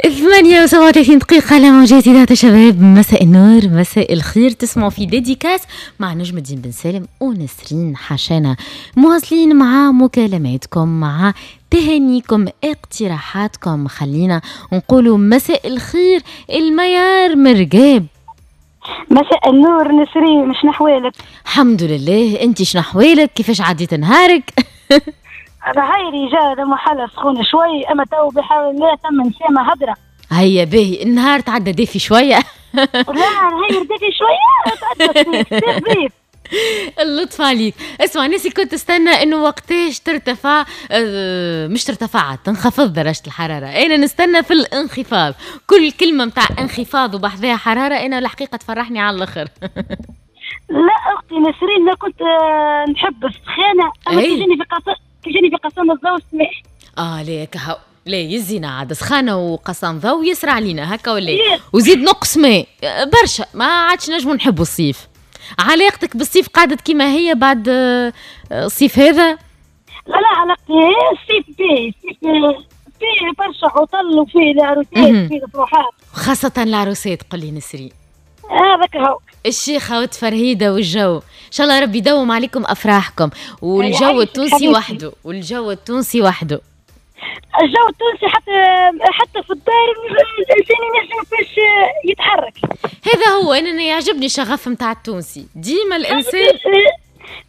8:37 دقيقة على موجات إذاعة الشباب. مساء النور، مساء الخير. تسمعوا في dédicace مع نجم الدين بن سالم ونسرين حشانة، مواصلين مع مكالماتكم، مع تهانيكم، اقتراحاتكم. خلينا نقولوا مساء الخير الميار مرقاب. مساء النور نسرين، شنو احوالك؟ الحمد لله، انت شنو احوالك؟ كيفاش عديت نهارك؟ هايري جا محلة سخونة شوي، اما تو بحول الله ثم نسامة هدرة. هيا باهي، النهار تعدى دافي شوية. لا هاير دافي شوية، تعدى صيف. اللطف عليك. اسمع ناسي، كنت تستنى انه وقتاش ترتفع، مش ترتفع، تنخفض درجة الحرارة. انا نستنى في الانخفاض، كل كلمة متاع انخفاض وبحذاها حرارة انا الحقيقة تفرحني على الاخر. لا اختي نسرين، انا كنت نحب السخانة، اما تجيني في قصان الضوء سمح. لا كهو، لا يزينا عاد سخانة وقصان ضوء يسرع علينا هكا ولا وزيد نقص ماء برشا، ما عادش نجمو نحبوا الصيف. علاقتك بالصيف قعدت كما هي بعد الصيف هذا؟ لا لا، علاقتي الصيف باهي، الصيف فيه برشا عطل وفيه العروسات وفيه الفروحات، خاصة العروسات. قل لي نسرين. هذاك هو الشيخة والتفرهيدة والجو، إن شاء الله ربي يدوم عليكم أفراحكم. والجو التونسي وحده، والجو التونسي وحده، الجو التونسي حتى في الدار الانسان ينجم فاش يتحرك. هذا هو، انا يعجبني الشغف نتاع التونسي ديما الانسان.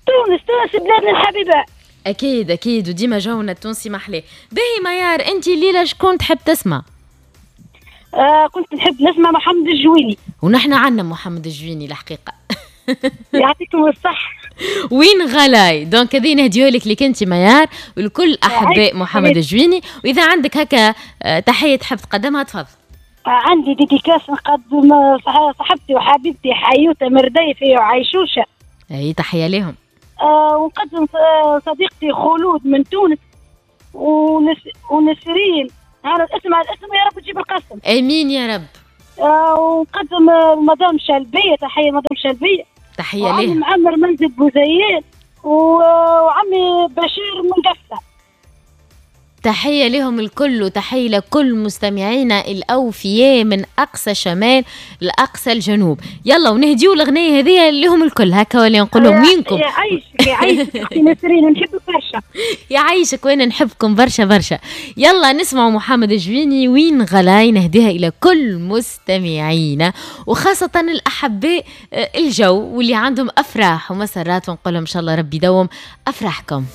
تونس تونس بلادنا الحبيبة. اكيد اكيد، وديما جونا التونسي محلاه. باهي ميار، انت الليلة شكون تحب تسمع؟ كنت نحب نسمع محمد الجويني. ونحن عندنا محمد الجويني الحقيقة. يعطيكم الصحة. وين غلاي، donc هذه نهديو لك لك انت ميار ولكل احباء محمد الجويني. واذا عندك هكا تحية تحب تقدمها تفضل. عندي dédicace نقدم صاحبتي وحبيبتي حيوته مرديفي وعيشوشه. اي تحية لهم. ونقدم صديقتي خلود من تونس ونسرين، هذا الاسم على الاسم يا رب تجيب القسم. امين يا رب. ونقدم مدام شلبيه، تحية مدام شلبيه، تحية ليه. وعمي معمر منزل بوزيان وعمي بشير من قفصه. تحية لهم الكل، وتحية لكل مستمعينا الأوفياء من أقصى الشمال لأقصى الجنوب. يلا ونهديو الأغنية هذه لهم الكل هكا ولا نقول لهم وينكم؟ يعيشك يعيشك أختي نسرين، نحبك برشا. يعيشك وأنا نحبكم برشا برشا. يلا نسمعوا محمد الجويني وين غلاي، نهديها إلى كل مستمعينا وخاصة الأحباء الجو واللي عندهم أفراح ومسرات، ونقول لهم إن شاء الله ربي يدوم أفراحكم.